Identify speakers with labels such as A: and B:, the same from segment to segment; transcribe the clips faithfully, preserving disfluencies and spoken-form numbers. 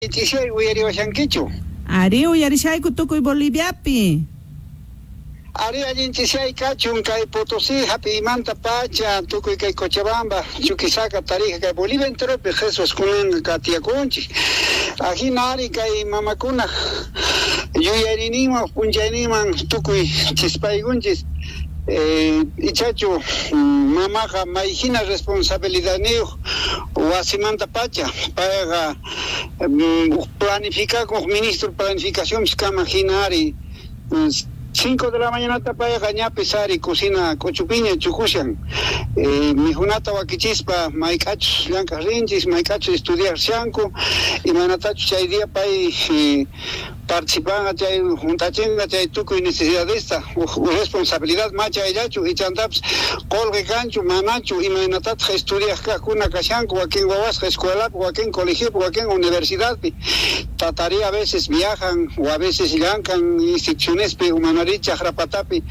A: Chishay uyariwashankichu?
B: Ari, uyarishayku tukuy Boliviapi.
A: Ari, allin chishay kachun kay Potosí hapiymanta pacha tukuy kay Cochabamba, Chuquisaca, Tarija, kay Bolivia enteropi Jesús kunan katiyakunchik. Ajina ari kay mamakuna yuyayninman p'unchayninman tukuy chispaykunchis. Eh, ichachu mamaqa mayhina responsabilidadniyuq wasimanta pacha payqa planificakuq ministro planificación kama hina ari cinco de la mañana payqa ñapis ari cocina k'uchupiña chukushan eh, mijunata wakichispa mayk'achus llank'aq rinchis mayk'achus estudiarshanku imaynatachus chay día pay eh, participanqa chay juntachinqa chay tukuy necesidadesta responsabilidad macha ayllachu ichantapis qolqe kanchu manachu imaynatataq estudiaq kaqkuna kashanku wakin wawasqa escuelapi wakin colegiopi wakin universidadpi tatari a veces viajan o a veces llankan institucionespi umanari chaqrapatapi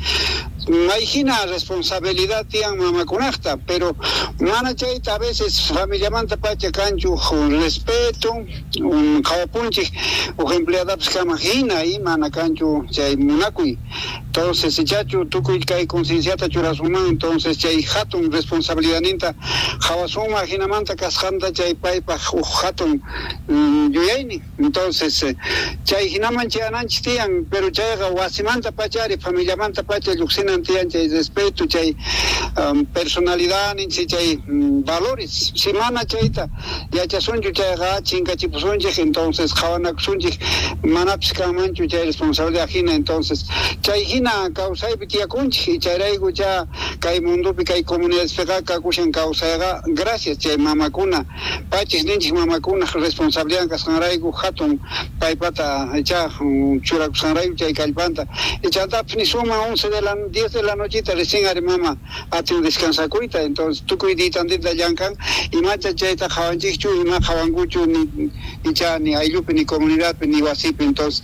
A: mayhina responsabilidad tiyan mamakunaqta pero mana chayta a veces familiamanta pacha kanchu respeto un qhawapunchik uj empleadapis kama hina y mana kanchu chay munakuy entonces ichachu tukuy kay concienciata churasunman entonces chay hatun responsabilidadninta qhawasunman hinamanta kasqanta chay paypaq uj hatun yuyaynin entonces chay hinaman chayananchik tiyan pero chayqa wasimanta pachari familiamanta pacha lluqsinan tiyan chay respeto chay um, personalidad ninchik chay um, valores si mana chayta yachasunchu chayqa chinkachipusunchik entonces qhawanakusunchik manapis kanmanchu chay responsabilidad hina entonces chay hina kawsaypi tiyakunchik chayrayku cha kay mundopi kay comunidadpiqa kakushan kawsayqa gracias chay mamakuna pachis ninchik mamakuna responsabilidad kasqanrayku hatun paypata cha churakusqanrayku chay kallpanta ichantapis nisunman once de la diez de la nochita recién ari mama atin descansakuyta entonces tukuy ditantita llankan imacha chayta qhawanchikchu ima qhawankuchu ni icha ni ayllupi ni comunidadpi ni wasipi entonces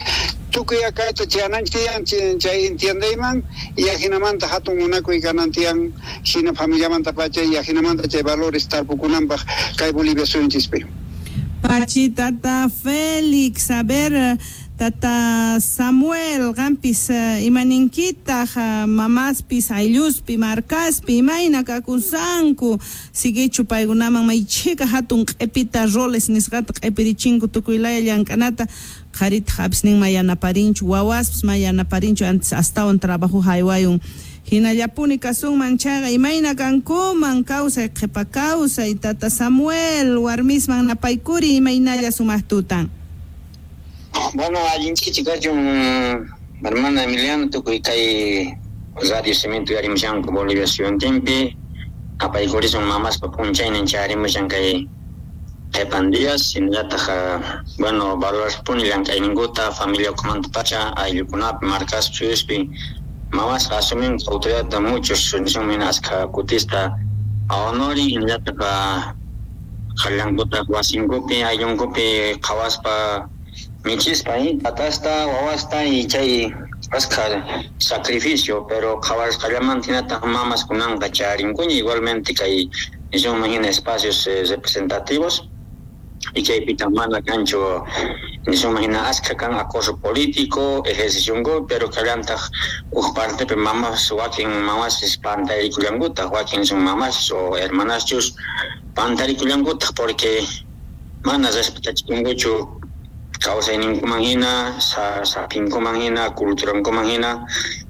A: tukuy akayta chayananchik tiyan chay entiendeyman y ajinamanta hatun munakuy kanan tiyan hina familiamanta pacha y ajinamanta chay valores tarpukunanpaq kay Bolivia suyunchispi.
B: Pachi tata Félix, a ver, tata Samuel, qampis imaninkitaq mamaspis aylluspi markaspi imayna kakusanku siguichu paykunaman maychika hatun q'ipita roles nisqata q'ipirichinku tukuy laya llank'anata qharitaq apisnin ma yanaparinchu wawaspis ma yanaparinchu antes astawan trabajo haywayun hinallapuni kasunman chayqa imayna kankuman kawsay qhipa kawsay tata Samuel warmisman napaykuri imaynalla sumaq tutan.
C: Bueno, allinchichi kachun hermana Emiliano tukuy kay Radio Cemento yarimushanku Bolivia suyuntinpi apaykurisun mamaspa p'unchaynin chayarimushan kay qhipan días hinallataq bueno valorarpuni llank'ayninkuta familia ukhumanta pacha ayllukunapi markaspi suyuspi mamasqa asuminku autoridadta muchos nisunman askha kutista honorin hinallataq qallankutaq wasinkupi ayllunkupi qhawaspa michispa tatasta wawasta y chay askha sacrificio pero qhawarisqallamanta hinataq mamas kunanqa charinkuña igualmente kay nisunman hina espacios eh, representativos y chaypita mana kanchu nisunman hina askha kan acoso político ejercicionku pero kallantaq uj partepi mamas wakin mamas pantarikullankutaj wakin son mamas o hermanaschus pantarikullankutaj porque mana respetachikunkuchu kawsayninkuman hina sapinkuman hina culturankuman hina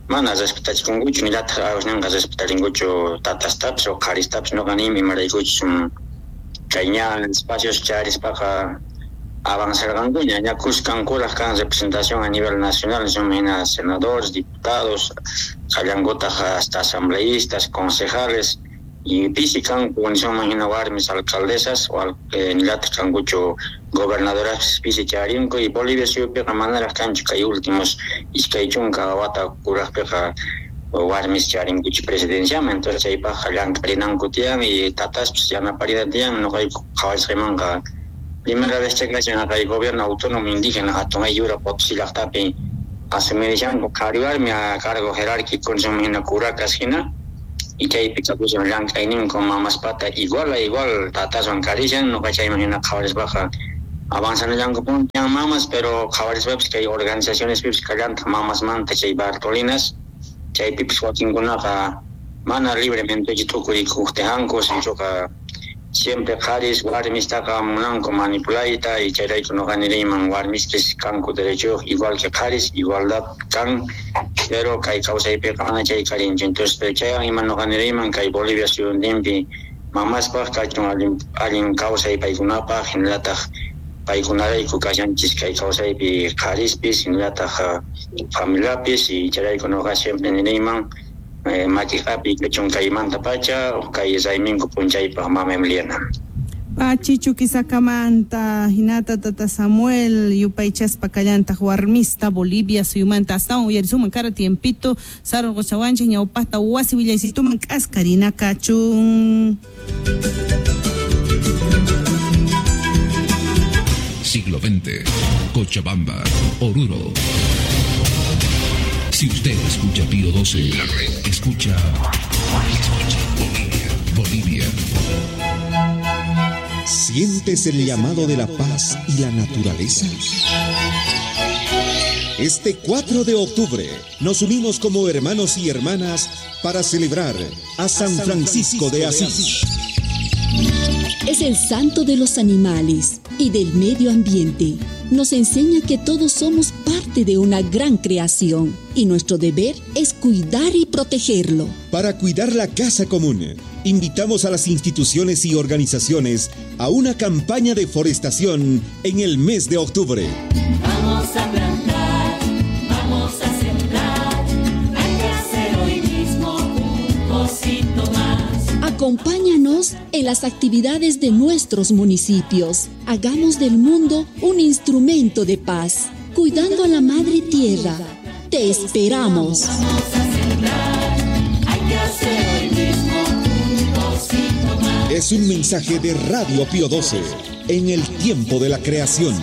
C: mana respetachikunkuchu nillataq awasninqa respetarinkuchu tatastapis o qharistapis nuqa niymi imaraykuchus kay ña espacios charispaqa avanzarqankuña ña kuskankuraq kan representación a nivel nacional nisunman hina senadores, diputados qallankutaq hasta asambleístas, concejales y pisi kanku nisunman hina warmis alcaldesas o eh, nillataq kankuchu gobernadoras pisi charinku y Bolivia suyupiqa manaraq kanchu kay últimos iskay chunka wata kuraqpiqa warmis charinkuchu presidenciaman entonces chaypaqqa llank'arinanku tiyan y tataspis yanaparina tiyan nuqayku qhawarisqaymanqa primera vez chakashan kay gobierno autónomo indígena hatun ayllura Potosí llaqtapi asumirishanku qhari warmi a cargo jerárquico nisunman hina kurakas hina y chaypi kakushan llank'ayninku mamaspata igual a igual tataswan karishan nuqa chayman hina qhawarispaqa Avanzanallankupuni mamas, pero qhawarispapis kay organizacionespipis kallantaq mamasmanta chay Bartolinas, chaypipis wakinkunaqa mana libremente t'ukurikuqtijanku, sinchuqa siempre qharis warmistaqa munanku manipulayta y chayrayku nuqa niriyman warmispis kanku derechuyuq igual que qharis, igualdad kan, pero kay kawsaypiqa mana chay karinchu. Entonces pero chaywan ima nuqa niriyman kay Bolivia suyuntinpi mamaspaq kachun allin allin kawsay paykunapaq, hinallataq paykunarayku kashanchis kay kawsaypi qharispis, hinallataq familiapis, y chayrayku nuqa siempre niriyman eh, makiqapi kachun kaymanta pacha kay rayminku p'unchaypaq mama Emiliana.
B: Pachi Chuquisakamanta hinata tata Samuel yupaychaspa kallantaq warmista Bolivia suyumanta astawan uyarisuman kara tiempito sarurquchawanchik ñawpaqta wasi willaysituman k'askarina kachun.
D: Siglo veinte, Cochabamba, Oruro. Si usted escucha Pío doce, la red escucha, escucha Bolivia, Bolivia.
E: ¿Sientes el llamado de la paz y la naturaleza? Este cuatro de octubre nos unimos como hermanos y hermanas para celebrar a San Francisco de Asís.
F: Es el santo de los animales y del medio ambiente. Nos enseña que todos somos parte de una gran creación y nuestro deber es cuidar y protegerlo.
E: Para cuidar la casa común, invitamos a las instituciones y organizaciones a una campaña de forestación en el mes de octubre.
G: Vamos a plantar, vamos a sembrar, hay que hacer hoy mismo un pocito más.
F: Acompáñanos en las actividades de nuestros municipios. Hagamos del mundo un instrumento de paz, cuidando a la madre tierra. Te esperamos.
G: Vamos a sembrar, hay que hacer hoy mismo un pocito más.
E: Es un mensaje de Radio Pío doce, en el tiempo de la creación.